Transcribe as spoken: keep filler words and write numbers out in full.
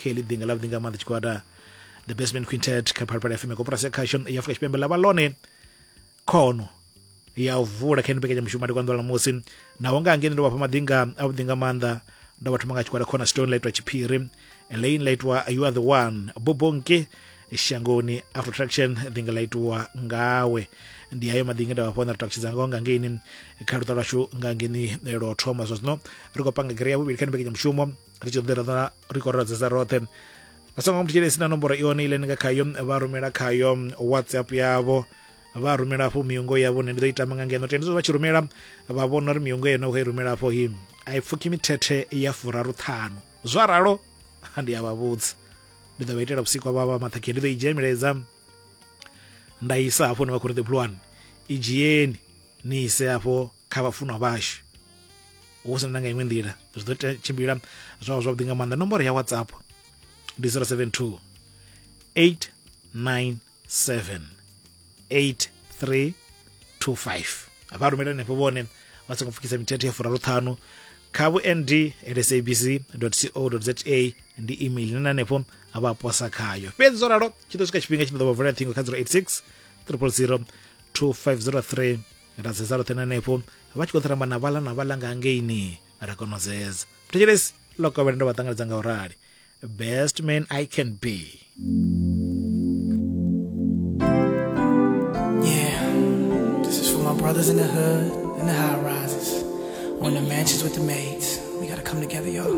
Kha heḽi ḓinga ḽa vhuḓi nga maanḓa tshigwada The Basement Quintet kha Phalaphala F M, koporasi ya khasho ya Afrika Tshipembe ḽa vha ḽone khono ya u vula kha ino mbekanyamushumo ndi kwanḓa ṋamusi. Naho nga ngeni ndo vha fha maḓinga a vhuḓi nga maanḓa, ndo vha thoma nga tshigwada Cornerstone ḽa itwa Tshiphiri, Elaine ḽa itwa You Are The One, Bobonke Shangoni, Afro Traction ḓinga ḽa itwa Ngawe. Ndi hayo maḓinga nda vha fha na takutshedza ngaho nga ngeini kha luṱa lwashu nga ngeni lwo thoma. Zwa zwino ri khou panga gere ya vhuvhili kha mbekanyamushumo, ri tshi ḓo ri khou redzesa roṱhe. Vha songo mthetshelesi na nomboro ione ile ni nga khayo vha rumela khayo WhatsApp yavho, vha rumela afho miungo yavho, nṋe ndi ḓo i tama nga ngeno. Tenda vha tshi rumela vha vhona uri miungo yone khou i rumela afho hi a i pfukhi mithethe ya furaru ṱhanu. Zwa ralo ndi a vha vhudza, ndi ḓo vha itela vhusiku vha vha maṱhakheni, ndi ḓo i dzhia milaedza nda isa hafho hune vha khou ri The Blue One, i dzhieni ni ise hafho kha vhafunwa vhashu, hu sina na nga iṅwe nḓila zwi ḓo tshimbila zwavho zwavhuḓi nga maanḓa. Nomboro ya WhatsApp ndi zero seven two eight nine seven eight three two five. Vha rumela henefho vhone vha songo pfukisa mithethe ya furaru ṱhanu kha vhu nd at sabc dot co dot za ndi email ine hanefho vha posa khayo. Fhedzi zwo ralo tshi ḓo swika tshifhinga tshine ḓo vha vulela ṱhingo kha zero eight six triple zero two five zero three, ra zeza roṱhe hanefho vha tshi khou ṱaramba na vhaḽa na vhaḽa nga ngeini ra kona u zeza. Thetshelesi ḽo kovhela ndo vha ṱanganedza nga u rali. Best man I can be. Yeah, this is for my brothers in the hood and the high rises, or in the mansions with the maids. We gotta come together, y'all.